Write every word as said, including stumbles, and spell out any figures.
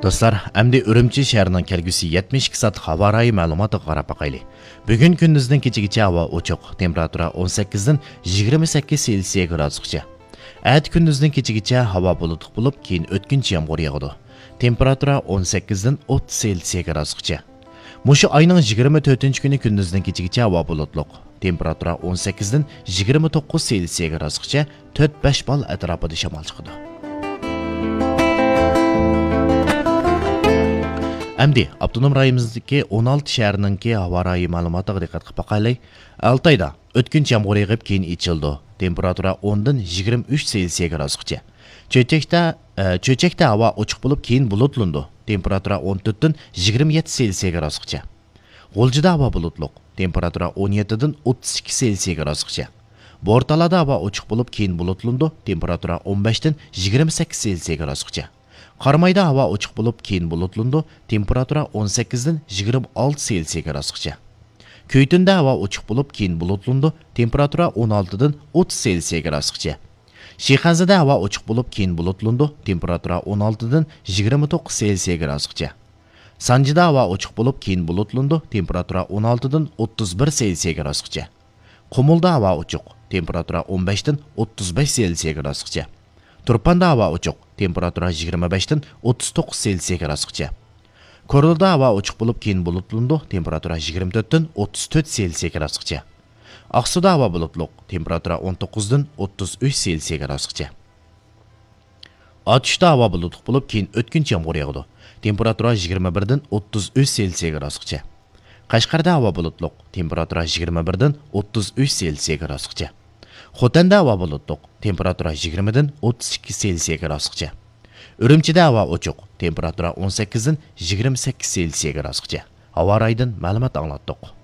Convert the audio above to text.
دوستلار، ئەمدى ئۈرۈمچى شەھىرىنىڭ كەلگۈسى يەتمىش ئىككى سائەتلىك ھاۋا رايى مەلۇماتىغا قاراپ باقايلى. بۈگۈن كۈندۈزدىن كېچىگىچە ھاۋا ئوچۇق، تېمپېراتۇرا ئون سەككىزدىن يىگىرمە سەككىز سېلسىيە گرادۇسقىچە. ئەتە كۈندۈزدىن كېچىگىچە ھاۋا بۇلۇتلۇق بولۇپ، كېيىن ئۆتكۈنچى يامغۇر ياغىدۇ. تېمپېراتۇرا ئون سەككىزدىن ئوتتۇز سېلسىيە گرادۇسقىچە. مۇشۇ ئاينىڭ يىگىرمە تۆتىنچى كۈنى كۈندۈزدىن كېچىگىچە ھاۋا بۇلۇتلۇق. تېمپېراتۇرا ئون سەككىزدىن يىگىرمە توققۇز سېلسىيە گرادۇسقىچە، تۆت بەش بال ئەتراپىدا شامال چىقىدۇ. ئەمدى ئاپتونوم رايونىمىزدىكى ئون ئالتە شەھەرنىڭكى ھاۋا رايى مەلۇماتىغا دىققەت قىلىپ باقايلى. ئالتايدا ئۆتكۈنچى يامغۇر يېغىپ، كېيىن ئېچىلىدۇ. تېمپېراتۇرا ئوندىن يىگىرمە ئۈچ سېلسىيە گرادۇسقىچە. چۆچەكتە، ئە، چۆچەكتە ھاۋا ئوچۇق بولۇپ، كېيىن بۇلۇتلىنىدۇ. تېمپېراتۇرا ئون تۆتتىن يىگىرمە يەتتە سېلسىيە گرادۇسقىچە. غۇلجىدا ھاۋا بۇلۇتلۇق. تېمپېراتۇرا ئون يەتتىدىن ئوتتۇز ئىككى سېلسىيە گرادۇسقىچە. بورتالادا ھاۋا ئوچۇق بولۇپ، كېيىن بۇلۇتلىنىدۇ. تېمپېراتۇرا ئون بەشتىن يىگىرمە سەككىز سېلسىيە گرادۇسقىچە. قارامايدا ھاۋا ئوچۇق بولۇپ، كېيىن بۇلۇتلىنىدۇ. تېمپېراتۇرا ئون سەككىزدىن يىگىرمە ئالتە سېلسىيە گرادۇسقىچە. كۆيتۈندە ھاۋا ئوچۇق بولۇپ، كېيىن بۇلۇتلىنىدۇ. تېمپېراتۇرا ئون ئالتىدىن ئوتتۇز سېلسىيە گرادۇسقىچە. شىخەنزىدە ھاۋا ئوچۇق بولۇپ، كېيىن بۇلۇتلىنىدۇ. تېمپېراتۇرا ئون ئالتىدىن يىگىرمە توققۇز سېلسىيە گرادۇسقىچە. سانجىدا ھاۋا ئوچۇق بولۇپ، كېيىن بۇلۇتلىنىدۇ. تېمپېراتۇرا ئون ئالتىدىن ئوتتۇز بىر سېلسىيە گرادۇسقىچە. قۇمۇلدا ھاۋا ئوچۇق، تېمپېراتۇرا ئون بەشتىن ئوتتۇز بەش سېلسىيە گرادۇسقىچە. تۇرپاندا ھاۋا ئوچۇق، تېمپېراتۇرا يىگىرمە بەشتىن ئوتتۇز توققۇز سېلسىيە گرادۇسقىچە. كورلىدا ھاۋا ئوچۇق بولۇپ، كېيىن بۇلۇتلىنىدۇ، تېمپېراتۇرا يىگىرمە تۆتتىن ئوتتۇز تۆت سېلسىيە گرادۇسقىچە. ئاقسۇدا ھاۋا بۇلۇتلۇق، تېمپېراتۇرا ئون توققۇزدىن ئوتتۇز ئۈچ سېلسىيە گرادۇسقىچە. ئاتۇشتا ھاۋا بۇلۇتلۇق بولۇپ، كېيىن ئۆتكۈنچى يامغۇر ياغىدۇ. تېمپېراتۇرا يىگىرمە بىردىن ئوتتۇز ئۈچ سېلسىيە گرادۇسقىچە. قەشقەردە ھاۋا بۇلۇتلۇق، تېمپېراتۇرا يىگىرمە بىردىن ئوتتۇز ئۈچ سېلسىيە گرادۇسقىچە. خوتەندە ھاۋا بۇلۇتلۇق، تېمپېراتۇرا يىگىرمىدىن ئوتتۇز ئىككى سېلسىيە گرادۇسقىچە. ئۈرۈمچىدە ھاۋا ئوچۇق، تېمپېراتۇرا ئون سەككىزدىن يىگىرمە سەككىز سېلسىيە گرادۇسقىچە. ھاۋا رايىدىن مەلۇمات ئاڭلاتتۇق.